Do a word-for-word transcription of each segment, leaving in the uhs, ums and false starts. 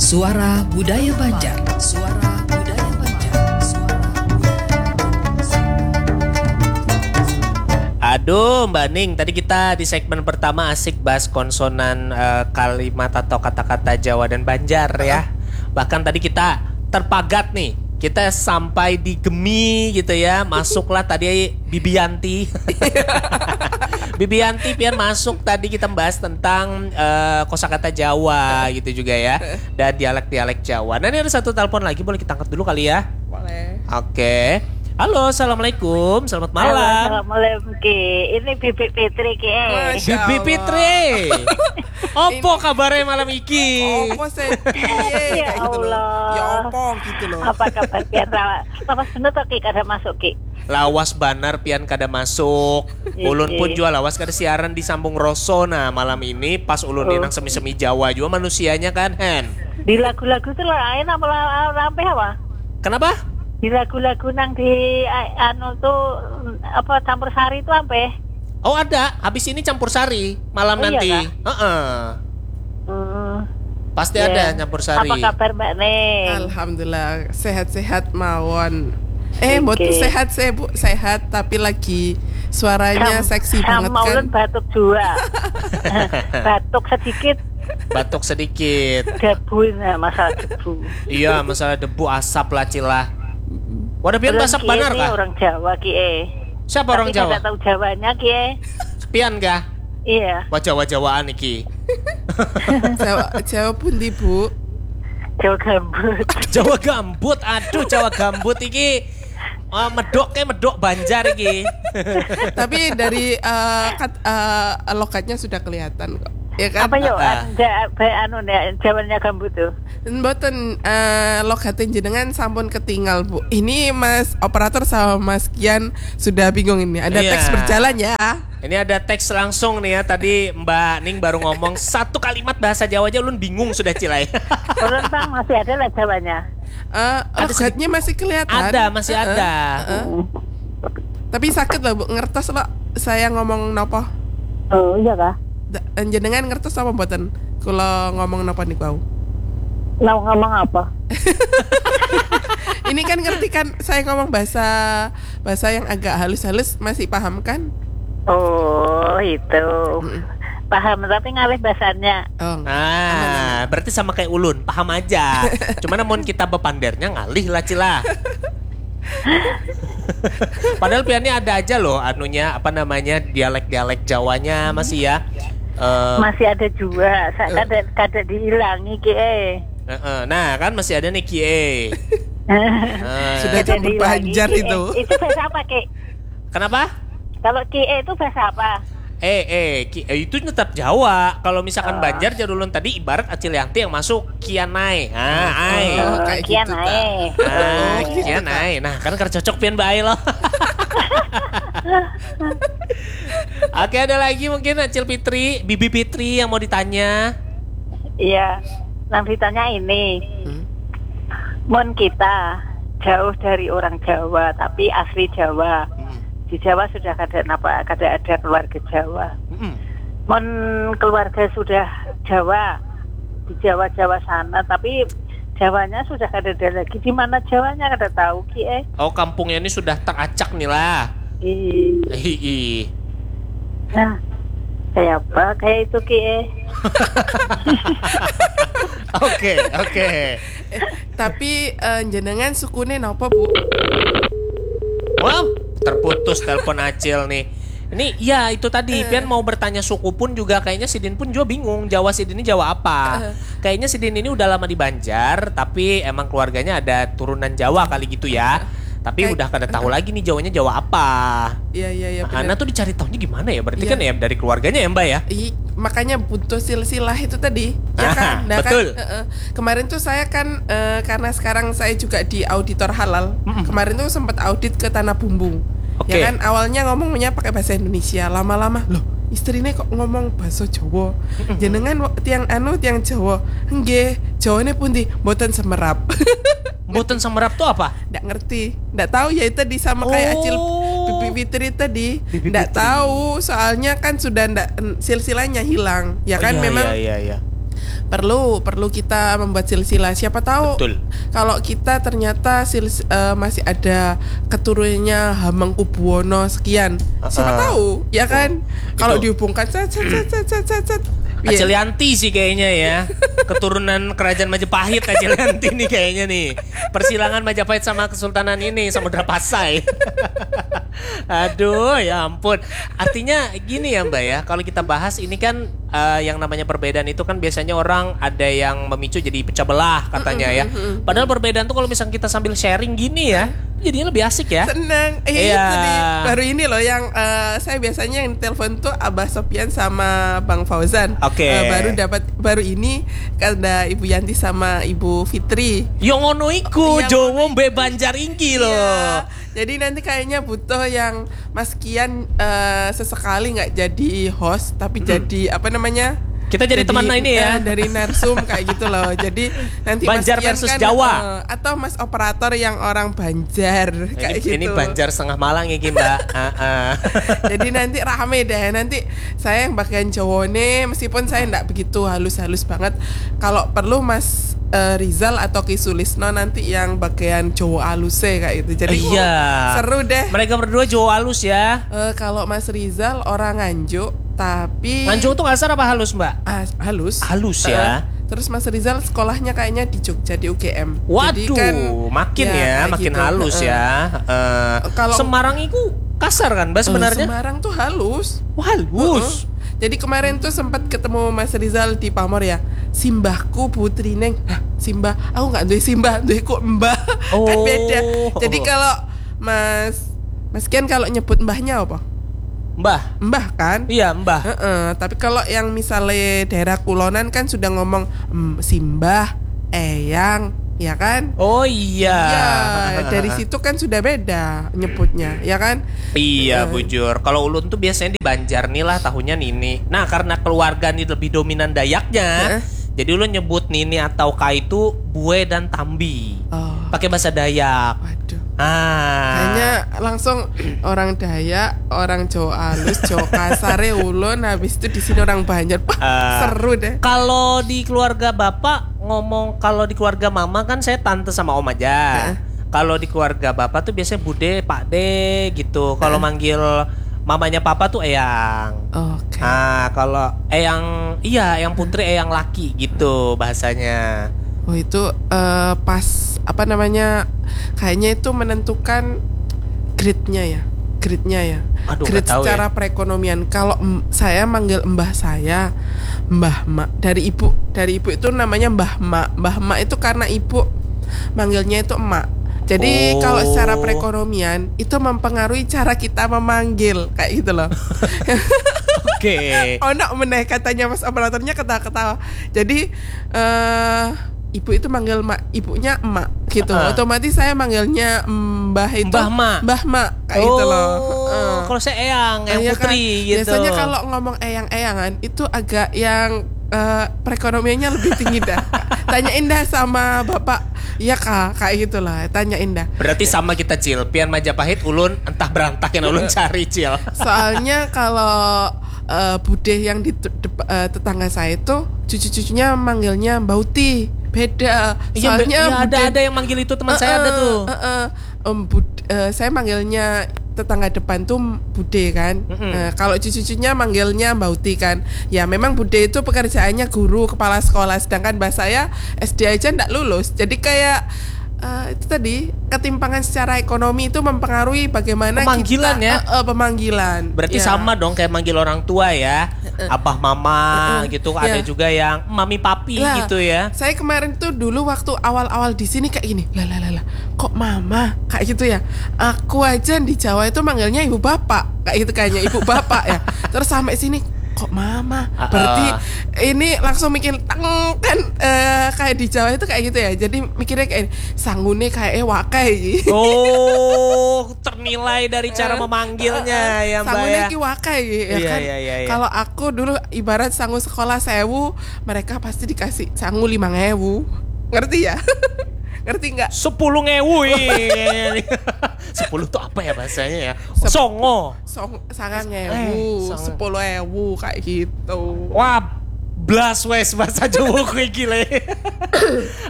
Suara Budaya Banjar. Suara Budaya Banjar. Suara Budaya Banjar. Aduh, Mbak Ning, tadi kita di segmen pertama asik bahas konsonan eh, kalimat atau kata-kata Jawa dan Banjar ya. Bahkan tadi kita terpagat nih, kita sampai di Gemi gitu ya. Masuklah tadi Bibianti. Bibianti pian masuk tadi kita bahas tentang eh, kosakata Jawa gitu juga ya. Dan dialek-dialek Jawa. Nah, ini ada satu telepon lagi, boleh kita angkat dulu kali ya. Boleh. Oke. Halo, assalamualaikum. Selamat Halo, malam. Assalamualaikum Ki. Ini Bibi Fitri Ki. Eh. Masya Bibi Allah. Fitri. Opo kabarnya malam iki? Opo sih? Piye? Ya Kayak gitu loh. Allah. Ya opo gitu loh. Apa kabar pian rawa? Lawas bener to Ki kada masuk Ki. Lawas banar pian kada masuk. Iya, Ulun pun iya. Jua lawas kada siaran di Sambung Roso. Nah, malam ini pas ulun ni Oh. Nang semi-semi Jawa jua manusianya kan, Hen. Di lagu-lagu tuh lain apa la- apa apa? Kenapa? Di lagu-lagu nang di a- anu tuh apa campur sari itu apa? Oh, ada. Habis ini campur sari malam Oh, iya nanti. kah? Heeh. Hmm, Pasti ya. Ada campur sari. Apa kabar Mbak Ning? Alhamdulillah sehat-sehat mawon. Eh, Oke. Mboten sehat sih Bu, sehat tapi lagi suaranya Sam- seksi sama banget kan. Ulun batuk juga. Batuk sedikit, Batuk sedikit. debu nah masalah debu. Iya, masalah debu asap lah cilah. Wadah pian Ulun asap Ki banar ini kah? Orang Jawa Ki eh. Siapa orang Tapi Jawa? Kada tahu Jawanya Ki eh. Pian kah? Iya, Wah, Jawa-Jawaan iki. Jawa, Jawa pundi Bu? Jawa gambut. Jawa gambut. Aduh, Jawa gambut iki. Ah, medok kayak medok Banjar iki. Tapi dari eh, kat- eh, logatnya sudah kelihatan kok. Ya kan? Apa yo? Ah. Ada apa anu nih Jawanya gambut tuh. Mboten eh, logatnya jenengan sampun ketinggal Bu. Ini Mas operator sama Mas Kian sudah bingung ini. Ada Iya. Teks berjalan ya. Ini ada teks langsung nih ya. Tadi Mbak Ning baru ngomong satu kalimat bahasa Jawa aja ulun bingung sudah, Cilai. Ulun Bang masih ada lah Jawanya. Eh, Ada logatnya masih kelihatan. Ada, masih Heeh, ada. Heeh. Tapi sakit loh Bu, ngertos loh saya ngomong nopo. Oh iya kah? Da- Jenengan ngertos apa mboten? Kalau ngomong nopo nih bau. Mau ngomong apa? Ini kan ngerti kan saya ngomong bahasa bahasa yang agak halus-halus masih paham kan? Oh itu. Paham tapi ngalih bahasannya. Oh. Ah, berarti sama kayak ulun, paham aja. Cuman namun kita bepandernya ngalih lah, Cila. Padahal piannya ada aja loh anunya, apa namanya, dialek-dialek Jawanya masih ya. Eh, Masih ada juga. Saya kada kada dihilangi Ki eh. heeh. Nah, kan masih ada nih Kie. Eh, Sudah Kada campur dihilangi Banjar Ki itu. eh. Itu bahasa apa Ki? Kenapa? Kalau Ki eh itu bahasa apa? Eh, eh, Ki- eh, itu tetap Jawa. Kalau misalkan Banjar jar ulun tadi ibarat Acil Yanti yang masuk Kianai. Ah, ai. Oh, kayak Kian gitu, ae. Ah, Oh, gitu, Kianai. Nah, kan kada cocok pian bae loh. Oke, ada lagi mungkin Acil Fitri, Bibi Fitri yang mau ditanya. Iya. Nang ditanya ini. Hmm. Mun kita jauh dari orang Jawa tapi asli Jawa. Di Jawa sudah kada napa kada ada keluarga Jawa. Mm-mm. Mun keluarga sudah Jawa di Jawa Jawa sana tapi Jawanya sudah kada ada lagi. Di mana Jawanya kada tahu Ki eh. Oh, kampungnya ini sudah teracak nih lah. Ih. Hihi. Nah, kayak apa? Kayak itu Ki eh. Oke, oke. Tapi eh, jenengan sukune napa Bu? Wow, terputus telepon Acil nih. Ini ya itu tadi pian mau bertanya suku pun juga kayaknya sidin pun juga bingung Jawa sidin ini Jawa apa. Kayaknya sidin ini udah lama di Banjar tapi emang keluarganya ada turunan Jawa kali gitu ya. Tapi Kayak- udah kada tahu lagi nih Jawanya Jawa apa. Iya iya iya. Ah, Benar. Nah, tuh dicari tahunya gimana ya? Berarti Iya. Kan ya dari keluarganya ya, Mbak ya? Ih, makanya butuh silsilah itu tadi, ya Ah, kan? Nah, betul. Kan, heeh. Kemarin tuh saya kan eh, karena sekarang saya juga di auditor halal. Kemarin tuh sempat audit ke Tanah Bumbung. Oke. Ya kan awalnya ngomongnya pakai bahasa Indonesia, lama-lama loh istrinya kok ngomong bahasa Jawa. Jenengan wa- tiang anu tiang Jawa. Nggih, Jawane pundi? Mboten semerap. Mboten semerap tuh apa? Ndak ngerti, ndak tahu ya itu tadi sama kayak Oh. Acil Bibi Fitri tadi, Bibi ndak Fitri. Tahu soalnya kan sudah ndak silsilahnya hilang, ya kan Iya, memang iya, iya, iya. Perlu, perlu kita membuat silsilah. Siapa tahu Betul. kalau kita ternyata sils, eh, masih ada keturunannya Hamengkubuwono sekian. Siapa Ah. tahu, ya kan? Kalau Itu. Dihubungkan set set set set set set set. Iya. Acil Yanti sih kayaknya ya. Keturunan kerajaan Majapahit Acil Yanti nih kayaknya nih. Persilangan Majapahit sama Kesultanan ini, Samudra Pasai. Aduh, ya ampun. Artinya gini ya, Mbak ya. Kalau kita bahas ini kan, eh, yang namanya perbedaan itu kan biasanya orang ada yang memicu jadi pecah belah katanya ya. Padahal perbedaan tuh kalau misalnya kita sambil sharing gini ya, jadinya lebih asik ya. Seneng. Eh, Iya. itu nih. Baru ini loh yang, eh, saya biasanya yang telepon tuh Abah Sopian sama Bang Fauzan. Oke. Eh, baru dapat, baru ini ada Ibu Yanti sama Ibu Fitri. Yo ngono iku, Iya, Jowo mbek Banjar inggi loh. Iya. Jadi nanti kayaknya butuh yang Mas Kian, eh, sesekali nggak jadi host tapi jadi apa namanya? Kita jadi teman ini ya. Eh, dari narsum kayak gitu loh. Jadi nanti Banjar Mas Kian versus kan, Jawa. eh, atau Mas operator yang orang Banjar kayak Ini, gitu. Ini Banjar setengah Malang iki, Mbak. Heeh. Jadi nanti rame deh. Nanti saya yang bagian Jawone, meskipun saya ndak begitu halus-halus banget. Kalau perlu Mas, eh, Rizal atau Ki Sulisno nanti yang bagian Jawa aluse kayak gitu. Jadi Iya. seru deh. Mereka berdua Jawa alus ya. Eh, kalau Mas Rizal orang Nganjuk, tapi Nganjuk tuh kasar apa halus, Mbak? Ah, halus. Halus ya. Eh, terus Mas Rizal sekolahnya kayaknya di Jogja di U G M. Waduh, Jadi kan, makin ya, kayak makin gitu. halus Heeh. Ya. Eh, Kalau- Semarang itu kasar kan, Mbak, Eh, sebenarnya? Semarang tuh halus. Wah, halus. Heeh. Jadi kemarin tuh sempat ketemu Mas Rizal di Pamor ya. Simbahku Putri Neng. Hah, simbah. Aku nggak duwe simbah, duweku mbah. Oh. Kan beda. Jadi kalau Mas Mas Kian kalau nyebut mbahnya apa? Mbah. Mbah kan? Iya, Mbah. Heeh, tapi kalau yang misalnya daerah kulonan kan sudah ngomong, mm, simbah, eyang, ya kan? Oh iya. Ya, dari situ kan sudah beda nyebutnya, ya kan? Iya, Eh. bujur. Kalau ulun tuh biasanya di Banjar nih lah, tahunya nini. Nah, karena keluarga nih lebih dominan Dayaknya, Heeh. jadi ulun nyebut nini atau ka itu bue dan tambi. Oh. Pakai bahasa Dayak. Waduh. Ah. Hanya langsung orang Dayak, orang Jawa alus, Jawa kasare ulun, habis itu di sini orang Banjar. Wah, Ah. seru deh. Kalau di keluarga bapak ngomong, kalau di keluarga mama kan saya tante sama om aja. Heeh. Kalau di keluarga bapak tuh biasanya bude, pakde gitu. Kalau manggil mamanya papa tuh eyang. Oke. Ah, kalau eyang, iya, eyang putri, eyang laki gitu bahasanya. Oh, itu, eh, pas apa namanya, kayaknya itu menentukan grade-nya ya, grade-nya ya. Aduh, Grade nggak tahu secara ya. Perekonomian. Kalau em- saya manggil mbah saya, mbah mak, dari ibu, dari ibu itu namanya mbah mak. Mbah mak itu karena ibu manggilnya itu emak. Jadi Oh. Kalau secara perekonomian itu mempengaruhi cara kita memanggil kayak gitu loh. Oke. Ono meneh katanya mas operatornya ketawa-ketawa. Jadi eh ibu itu manggil mak, ibunya emak gitu. Heeh. Otomatis saya manggilnya mbah itu Mbah mak. Mbah mak kayak gitu loh. Oh, Heeh. Kalau saya eyang, eyang Iya kan? putri gitu. Biasanya kalau ngomong eyang-eyangan itu agak yang eh, perekonomiannya lebih tinggi dah. Tanyain dah sama bapak. Iya kak, kayak gitulah. Tanyain dah. Berarti sama kita, Cil. Pian Majapahit, ulun entah berantak yang ulun cari, Cil. Soalnya kalau eh, bude yang di te- dep- eh, tetangga saya itu cucu-cucunya manggilnya Mbauti. Beda. Iya, Soalnya iya, ada bude- ada yang manggil itu, teman saya ada Heeh, tuh. Heeh. Em, bud- eh, saya manggilnya tetangga depan tuh bude kan. Mm-mm. Nah, kalau cucu-cucunya manggilnya Mbauti kan. Ya memang bude itu pekerjaannya guru, kepala sekolah, sedangkan mbah saya S D aja ndak lulus. Jadi kayak eh, itu tadi ketimpangan secara ekonomi itu mempengaruhi bagaimana Pemanggilan kita, ya? Eh, eh, pemanggilan. Berarti Ya. Sama dong kayak manggil orang tua ya. Abah mama Heeh. gitu, Ya. Ada juga yang mami papi Lah, gitu ya. Saya kemarin tuh dulu waktu awal-awal di sini kayak gini, lah lah lah lah, kok mama kayak gitu ya. Aku aja di Jawa itu manggilnya ibu bapak kayak gitu kayaknya, ibu bapak ya. Terus sampai sini kok mama. Ah, Berarti ah. Ini langsung mikir teng kan, eh, kayak di Jawa itu kayak gitu ya. Jadi mikirnya kayak sangune kayak eh wakai. Oh, ternilai dari cara memanggilnya ya, Mbak Sangune ya. Ki wakai ya Iya, kan. Iya, iya, iya. Kalau aku dulu ibarat sangu sekolah sewu, mereka pasti dikasih sangu lima ngewu. Ngerti ya? Ngerti nggak? Sepuluh ngewu ih. Sepuluh tuh apa ya bahasanya ya? Songo. Song sangang ngewu, Eh, sangang. Sepuluh ewu kayak gitu. Wah, Blas wes bahasa Jawa gue gile.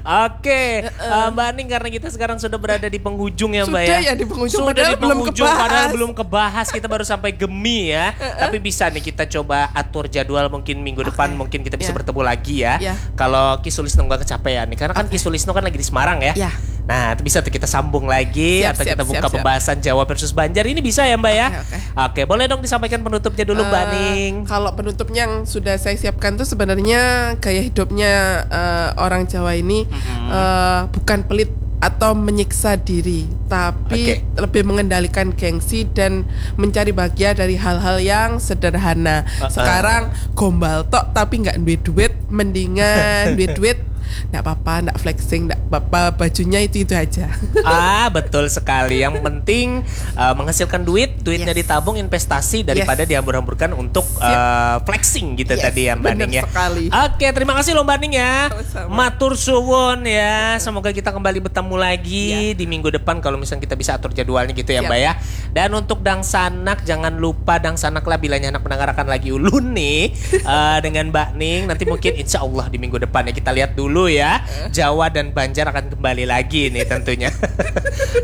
Oke, eh, Mbak Ning, karena kita sekarang sudah berada di penghujung ya, Mbak, Sudah ya. Ya, di penghujung, Sudah padahal di belum penghujung, kebahas. Padahal belum kebahas, kita baru sampai Gemi ya. Tapi bisa nih kita coba atur jadwal, mungkin minggu depan mungkin kita bisa Ya. Bertemu lagi ya. Ya. Kalau Ki Sulisno nggak kecapean nih, karena kan Ki Sulisno kan lagi di Semarang ya. Ya. Nah, itu bisa tuh kita sambung lagi Siap, atau siap, kita buka siap, siap. Pembahasan Jawa versus Banjar ini, bisa ya, Mbak, ya. Oke, oke. Oke, boleh dong disampaikan penutupnya dulu, Mbak Eh, Ning. Kalau penutupnya yang sudah saya siapkan tuh sebenarnya gaya hidupnya eh, orang Jawa ini eh, bukan pelit atau menyiksa diri, tapi Oke. Lebih mengendalikan gengsi dan mencari bahagia dari hal-hal yang sederhana. Uh-uh. Sekarang gombal tok tapi nggak duit-duit, mendingan duit-duit nggak apa-apa, nggak flexing, nggak apa-apa, bajunya itu itu aja. Ah, betul sekali. Yang penting uh, menghasilkan duit, duitnya Yes. Ditabung, investasi daripada Yes. Dihambur-hamburkan untuk Sip. Uh, flexing gitu Yes, tadi ya, Mbak benar Ning, ya. Sekali. Oke, terima kasih loh, Mbak Ning, ya. Sama-sama. Matur suwun ya. Semoga kita kembali bertemu lagi Ya. Di minggu depan kalau misalnya kita bisa atur jadwalnya gitu ya, Siap. Mbak, ya. Dan untuk dangsanak, jangan lupa dangsanak lah bilanya anak mendengarkan lagi ulun nih uh, dengan Mbak Ning. Nanti mungkin insya Allah di minggu depan ya, kita lihat dulu ya. Jawa dan Banjar akan kembali lagi nih tentunya.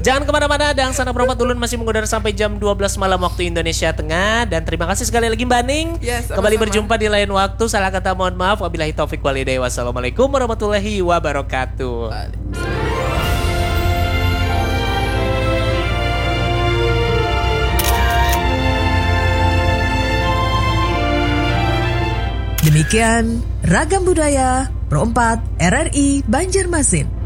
Jangan kemana-mana, dangsanak berempat ulun masih mengudara sampai jam dua belas malam waktu Indonesia Tengah. Dan terima kasih sekali lagi, Mbak Ning. Ya, sama-sama. Kembali berjumpa di lain waktu. Salah kata mohon maaf. Wabillahi taufik walhidayah. Wassalamualaikum warahmatullahi wabarakatuh. Demikian Ragam Budaya Pro empat R R I Banjarmasin.